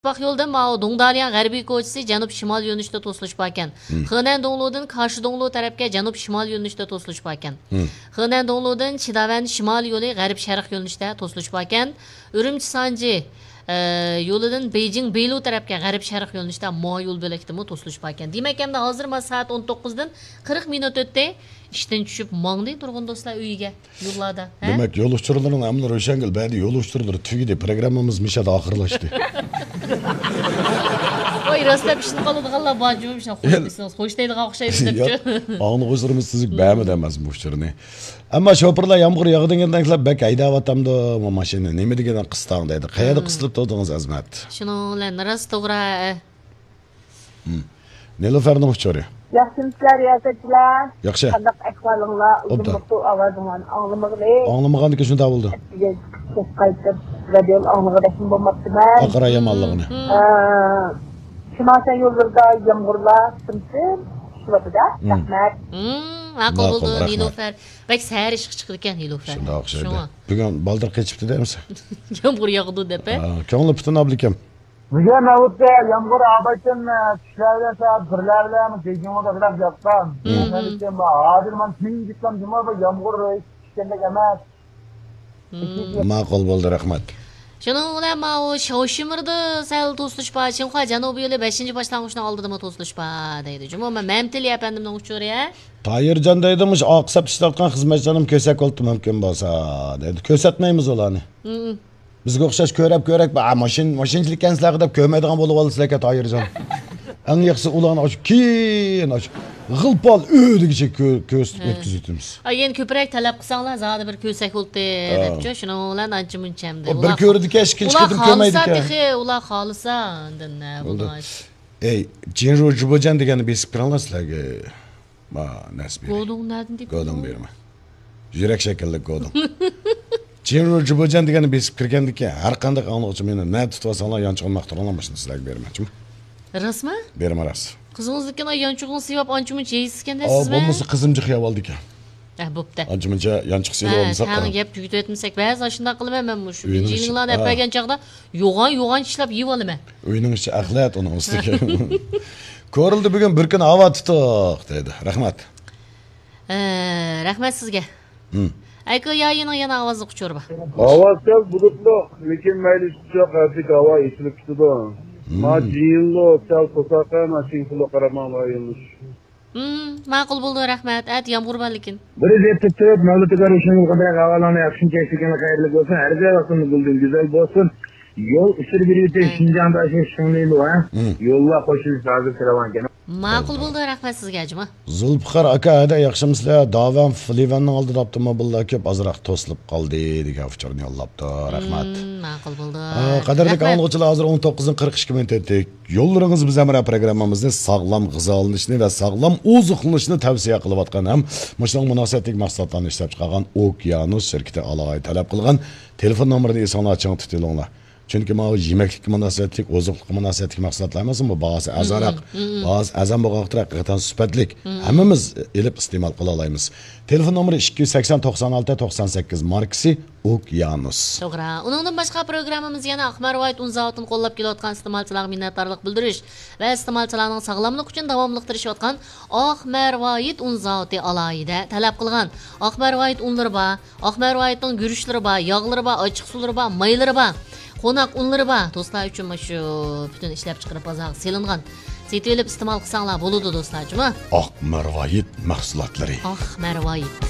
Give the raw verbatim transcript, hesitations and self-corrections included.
ئىتتىپاق يولىدىن ماۋۇ دۇڭدالياڭ غەربىي كوچىسى جەنۇب شىمال يۆنىلىشتە توسۇلۇش باركەن. خېنەن دۇڭلۇدىن كاشى دۇڭلۇ تەرەپكە جەنۇب شىمال يۆنىلىشتە توسۇلۇش باركەن. خېنەن دۇڭلۇدىن چىداۋەن شىمال يولى غەرب شەرق يۆنىلىشتە توسۇلۇش باركەن. ئۈرۈمچى سانجى، ئە، يولىدىن بېيجىڭ بېيلۇ تەرەپكە غەرب شەرق يۆنىلىشتە ماۋۇ يول بۆلەكتىمۇ توسۇلۇش باركەن. دېمەك، ئەمدى ھازىر مانا سائەت ئون توققۇزدىن قىرىق مىنۇت ئۆتتى. ئىشتىن چۈشۈپ ماڭدى نۇرغۇن دوستلار ئۆيىگە. يوللاردا، ھە؟ دېمەك، يول ئۇچۇرلىرىنىڭ ھەممىلا روشەنگۈل بەدى يول ئۇچۇرلىرى تۈگىدى. پروگراممىمىز مىشەدە ئاخىرلاشتى. ۋاي، راستلا ئىشىنىپ قالىدىغانلار بار جۇمۇ، مىشە خوش دېسىڭىز، خوش دەيدىغان ئوخشايمىز دەپچۇ. ياق، ئاڭلىغۇچىلىرىمىز تۈزۈك بەرمىدى ئەمەس بۇ ئۇچۇرنى. ئەمما شوپۇرلار يامغۇر ياغىدىغاندەكلا بەك ھەيدەۋاتامدۇ ماشىنىنى؟ نېمە دېگەن قىستاڭ دەيدۇ. قەيەردە قىستىلىپ تۇردىڭىز، ئەزمەت؟ شۇنىڭ بىلەن راست توغرا. نىلۇفەرنىڭ ئۇچۇرى. ياخشىمۇسىلەر رىياسەتچىلەر؟ ياخشى. قانداق ئەھۋالىڭلار؟ ئۇزۇن ئوبدان. بولۇپتۇ ئاۋازىڭلارنى ئاڭلىمىغىلى. ئاڭلىمىغاندىكىن شۇنداق بولدى. ئەتىگە كەچ قايتىپ رادىيونى ئاڭلىغۇدەكمۇ بولماپتىمەن. ئاقارا يامانلىقىنى. ئە، شىمال شەن يوللىرىدا يامغۇرلار سىم-سىم چۈشۈۋاتىدۇ. رەھمەت. ماقۇل ماقۇل، بولدى، رەھمەت. نىلۇفەر. بەك سەھەر ئىشقا چىقىدىكەن نىلۇفەر. شۇنداق ئوخشايدۇ. شۇڭا. بۈگۈن بالدۇر قېچىپتۇ دەيمىز. يامغۇر ياغىدۇ دەپ، ھە؟ ھە، كۆڭلى پۈتۈن ئابلىكىم. بۈگۈن نۆۋەتتە يامغۇر ئادەتتىن، ئە، چۈشلەر بىلەن سائەت بىرلەر بىلەن بېيجىڭغا بەكرەك ياغقان. ھازىر مانا تىڭ جىققان جۇمۇ بۇ يامغۇر چۈشكەندەك ئەمەس. ماقۇل بولدى، رەھمەت. شۇنىڭ بىلەن ماۋۇ شاۋشىمىردا سەل توسۇلۇش بار. شىنخۇا جەنۇبىي يولى بەشىنچى باشلانغۇچنىڭ ئالدىدىمۇ توسۇلۇش بار دەيدۇ. جۇمۇ مەمتىلى ئەپەندىمنىڭ ئۇچۇرى، ھە؟ تايىرجان دەيدۇ، مۇشۇ ئاق سەپتە ئىشلەۋاتقان خىزمەتچىلەرنىمۇ كۆرسەك بولۇپتۇ، مۇمكىن بولسا دەيدۇ. كۆرسەتمەيمىز ئۇلارنى. بىزگە ئوخشاش كۆرەپ كۆرەك، ئا، ماشىنا، ماشىنىچىلىك ئىكەنسىلەر دەپ كۆرمەيدىغان بولۇۋالىسىلەركەن، تايىرجان. ئەڭ ياخشىسى ئۇلارنى ئاشۇ كېيىن، ئاشۇ غىلپال ئۆ دېگۈچە كۆ-، كۆرسىتىپ ئۆتكۈزۈۋېتىمىز. ئا، يەنە كۆپرەك تەلەپ قىلساڭلار، زادى بىر كۆرسەك بولدى دەپچۇ، شۇنىڭ بىلەن ئانچە مۇنچە ئەمدى. ئۇ بىر كۆرىدىكەن، ئىككىنچى قېتىم كۆرمەيدىكەن. تېخى، ئۇلار خالىسا، ئاندىن نە بولدى. ئەي، جىنرۇ جۇبۇجەن دېگەننى بېسىپ كىرىڭلار سىلەرگە. ما، نەسىب بېرەي. گودۇڭ نەدىن دېدىڭ؟ گودۇڭ بېرىمەن. يۈرەك شەكىللىك گودۇڭ. جىنرۇ جۇبۇجەن دېگەننى بېسىپ كىرگەندىكىن، ھەر قانداق ئاڭلىغۇچى مېنى نەدە تۇتۇۋالساڭلار، يانچۇقۇمنى ماختۇرۇڭلار، ماشىنىدا سىلەرگە بېرىمەن، جۇمۇ. راستمۇ؟ بېرىمەن، راست. قىزىڭىزنىڭكىنى يانچۇقىڭىزنى سىۋاپ ئانچە-مۇنچە يەيسىزكەن دەيسىزمۇ؟ بولمىسا قىزىم جىق يەۋالىدىكەن. ھە، بوپتۇ. ئانچە-مۇنچە يانچۇق سېلىۋالمىساق. ھە، تەڭ يەپ تۈگىتىۋەتمىسەك، بەزى ئاشۇنداق قىلىمەن مەن، مۇشۇ ئۆينىڭ ئىچى، جىنىڭلارنى ئەپ بەرگەن چاغدا يوغان-يوغان چىشلاپ يېيىۋالىمەن. ئۆينىڭ ئىچى ئەخلەت ئۇنىڭ ئۈستىگە. كورلىدا بۈگۈن بىر كۈن ھاۋا تۇتۇق دەيدۇ. رەھمەت. ئە، رەھمەت سىزگە. ئەكۇيايىنىڭ يەنە ئاۋازلىق ئۇچۇرى بار. ھاۋا سەل بۇلۇتلۇق، لېكىن مەيلى ئىش يوق، ھەرىكەت ھاۋا ئېچىلىپ كېتىدۇ. ما جىنلۇ سەل توساقە، ما شىڭخۇلۇ قارىماڭ ئايلىنىش. ماقۇل بولدى، رەھمەت. ئەتە يامغۇر بار لېكىن. بىر دەپ تۇتۇپ، مەۋلىتىگە روشەن قىلغان ھاۋالارنى ياخشى كەچتىكىنى خەيرلىك بولسۇن، ھەر جاي ۋاقتىمىز گۈلدىن گۈزەل بولسۇن. يول ئۇچۇر بېرىۋېتىش، شىنجاڭدا شۇ شىڭلىلۇ، ھە؟ يوللار قوشۇلۇش ھازىر كىرىۋالغان. ماقۇل بولدى، رەھمەت سىزگە، جۇما. زۇلپىقار ئاكا، ھەدە ياخشىمۇسىلەر؟ داۋەن فلىۋەننىڭ ئالدىدا ئاپتوموبىللار كۆپ، ئازراق توسۇلۇپ قالدى دېگەن ئۇچۇرنى يوللاپتۇ. رەھمەت. ماقۇل بولدى. قەدىرلىك ئاڭلىغۇچىلار، ھازىر ئون توققۇزدىن قىرىق ئىككى مىنۇت ئۆتتى. يوللىرىڭىز بىز ھەمراھ پروگراممىمىزنى ساغلام غىزالىنىشنى ۋە ساغلام ئوزۇقلىنىشنى تەۋسىيە قىلىۋاتقان ھەم مۇشۇنىڭغا مۇناسىۋەتلىك مەھسۇلاتلارنى ئىشلەپچىقارغان ئوكيانۇس شىركىتى ئالاھىدە تەلەپ قىلغان تېلېفون نومۇرىنى ئېسىڭلارغا چىڭ تۇتۇۋېلىڭلار. چۈنكى ماۋۇ يېمەكلىككە مۇناسىۋەتلىك، ئوزۇقلۇققا مۇناسىۋەتلىك مەھسۇلاتلار ئەمەسمۇ، باھاسى ئەرزانراق، باھاسى ئەرزان بولغان ۋاقىتتا ھەقىقەتەن سۈپەتلىك، ھەممىمىز ئېلىپ ئىستېمال قىلالايمىز. تېلېفون نومۇرى ئىككى يۈز سەكسەن، توقسان ئالتە، توقسان سەككىز، ماركىسى ئوكيانۇس. توغرا. ئۇنىڭدىن باشقا، پروگراممىمىز يەنە ئاق مەرۋايىت ئۇن زاۋۇتىنى قوللاپ كېلىۋاتقان ئىستېمالچىلارغا مىننەتدارلىق بىلدۈرۈش ۋە ئىستېمالچىلارنىڭ ساغلاملىقى ئۈچۈن داۋاملىق تىرىشىۋاتقان ئاق مەرۋايىت ئۇن زاۋۇتى ئالاھىدە تەلەپ قىلغان. ئاق مەرۋايىت ئۇنلىرى بار، ئاق مەرۋايىتنىڭ گۈرۈچلىرى بار، ياغلىرى بار، ئاچچىق سۇلىرى بار، مايلىرى بار، قوناق ئۇنلىرى بار. دوستلار ئۈچۈن مۇشۇ پۈتۈن ئىشلەپچىقىرىپ بازارغا سېلىنغان. سېتىۋېلىپ ئىستېمال قىلساڭلار بولىدۇ، دوستلار، جۇما. ئاق مەرۋايىت مەھسۇلاتلىرى. ئاق مەرۋايىت.